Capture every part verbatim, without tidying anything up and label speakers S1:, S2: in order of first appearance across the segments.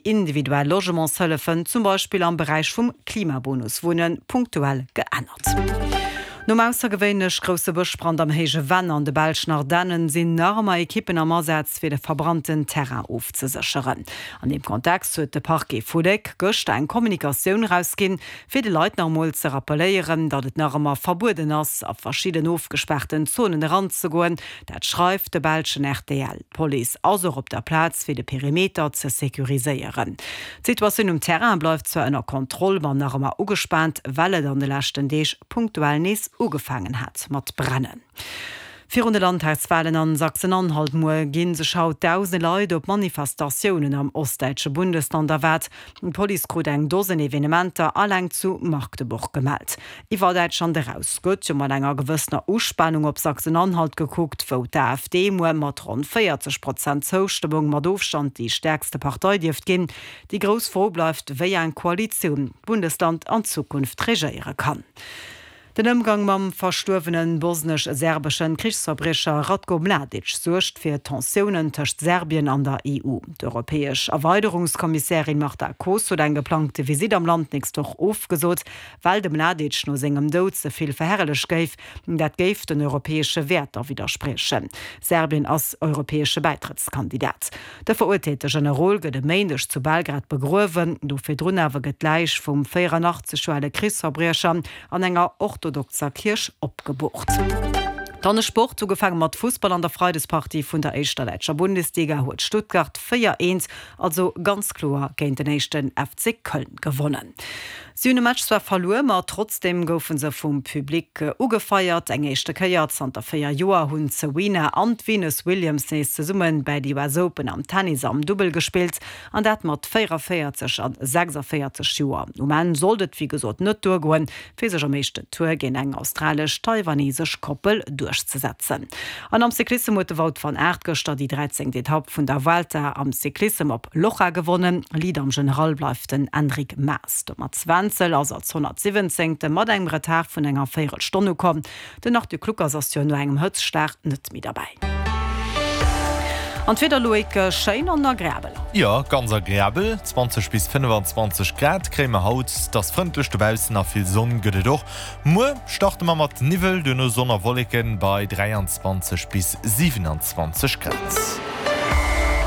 S1: Individuell Logementshëllefen, zum Beispill am Beräich vum Klimabonus Wunnen, punktuell geännert. Nom aussergewéinlech grousse Bëschbrand am Héije Venn an de belschen Ardennen sinn nach ëmmer Ekippen am Asaz fir de verbrannten Terrain ofzesécheren. An deem Kontext huet de Parquet vu Léck gëschter eng Kommunikatioun erausginn, fir de Leit nach emol ze rappelléieren, datt et nach ëmmer verbueden ass, a verschidden ofgespaarten Zonen eranzegoen. Dat schreift de belschen rtl. D'Police ass och op der Plaz fir de Perimeter ze securiséieren. D'Situatioun um Terrain bleift zwar ënner Kontroll, ma nach ëmmer ugespaant, well et an de leschten Deeg punktuell nees ugefaangen hat mat brennen. Virun de Landtagswalen an Sachsen-Anhalt muer gi sech haut dausende Leit op Manifestatiounen am ostdäitsche Bundesland erwaart. D'Police krut eng Dosen Evenementer alleng zu Magdeburg gemellt. Iwwer Däitschland eraus gëtt jo mat enger gewëssener Uspanung op Sachsen-Anhalt gekuckt, wou d'AfD muer mat ronn véierzeg Prozent Zoustëmmung mat Ofstand déi stäerkste Partei dierft ginn. Déi grouss Fro bleift, wéi eng Koalitioun d'Bundesland an Zukunft regéiere kann. Den Ëmgang mam verstuerwene bosnesch-serbeschen Krichsverbriecher Ratko Mladic suergt fir Tensiounen tëscht Serbien an der E U. D'europäesch Erweiderungskommissärin Marta Kos huet eng geplangte Visitt am Land d'nächst Woch ofgesot, well de Mladic no sengem Doud ze vill verherrlecht géif. Dat géif den europäesche Wäerter widderspriechen. Serbien ass europäesche Bäitrëttskandidat. De verurteelte Generol gëtt e Méindeg zu Belgrad begruewen. Do virdrun awer gëtt d'Läich vum véierannachtzeg Joer ale Krichsverbriecher an enger orthodoxer Kierch opgeboort. Dann de Sport, ugefaange mat Fussball. An der Freidespartie vun der éischter däitscher Bundesliga huet Stuttgart véier, eent, also ganz kloer géint den éischten F C Köln gewonnen. Si hunn de Match zwar verluer, ma trotzdeem goufe se vum Public ugefeiert. Eng éischte Kéier zanter véier Joer hunn d'Serena an d'Venus Williams nees zesumme bei de U S Open am Tennis am Dubbel gespillt, an dat mat véieranvéierzeg a sechsandvéierzeg Joer. Um Enn sollt et wéi gesot net duergoen, fir sech am éischten Tour géint eng australesch-taiwanesesch Koppel duerchzesetzen. An am Cyclissem huet de Wout van Aert gëschter déi dräizéngt Etapp vun der Vuelta am Cyclissem op Loja gewonnen. Leader am General bleift den Enric Mas. De Mats Wenzel ass als honnertsiwwenzéngte mat engem Retard vun enger Véierelstonn ukomm. Den Arthur Kluckers ass jo no engem Hëtztschlag net méi derbäi. An d'Wieder, Loïc, schéin an agreabel.
S2: Jo, ganz agreabel. zwanzeg bis fënnefanzwanzeg Grad kréie mer haut. Et ass frëndlech dobaussen a vill Sonn gëtt et och. Muer starte mer mat Niwwel, duerno Sonn a Wolleken bei dräianzwanzeg bis siwenanzwanzeg Grad.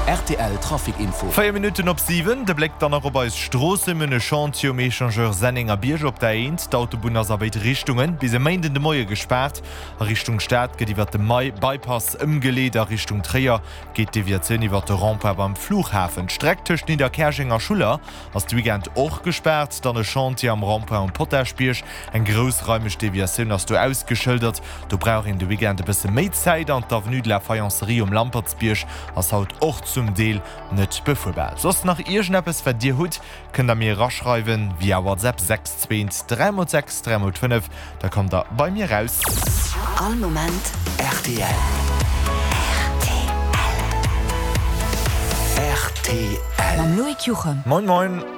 S3: R T L Trafic Info.
S2: Véier Minutten op siwen, de Bléck dann nach op eis Stroossen. Mir hunn e Chantier um Echangeur Sennengerbierg op der A eent. D'Autobunn ass a béid Richtunge bis e Méinden de Moie gespaart. A Richtung Stad gëtt iwwert de Bypass ëmgeleet, a Richtung Tréier geet d'Deviatioun iwwert de Rond-point beim Flughafen. D'Streck tëscht Nidderkäerjeng a Schuller ass de Weekend och gespaart. Dann e Chantier am Rond-point um Potaschbierg. Eng groussraimeg Deviatioun ass do ausgeschëldert. Do brauch een de Weekend e bësse méi Zäit. An d'Avenue de la Faïencerie um Lampertsbierg ass haut och zum Deel net befuerbar. Soss nach iergendeppes wat dir hutt, kënnt der mir eraschreiwen via WhatsApp sechs zwee dräi mol sechs dräi mol fënnef, da kommt der bei mir raus.
S3: All Moment R T L. R T L.
S4: Mam Loïc Juchem.
S2: Moin moin.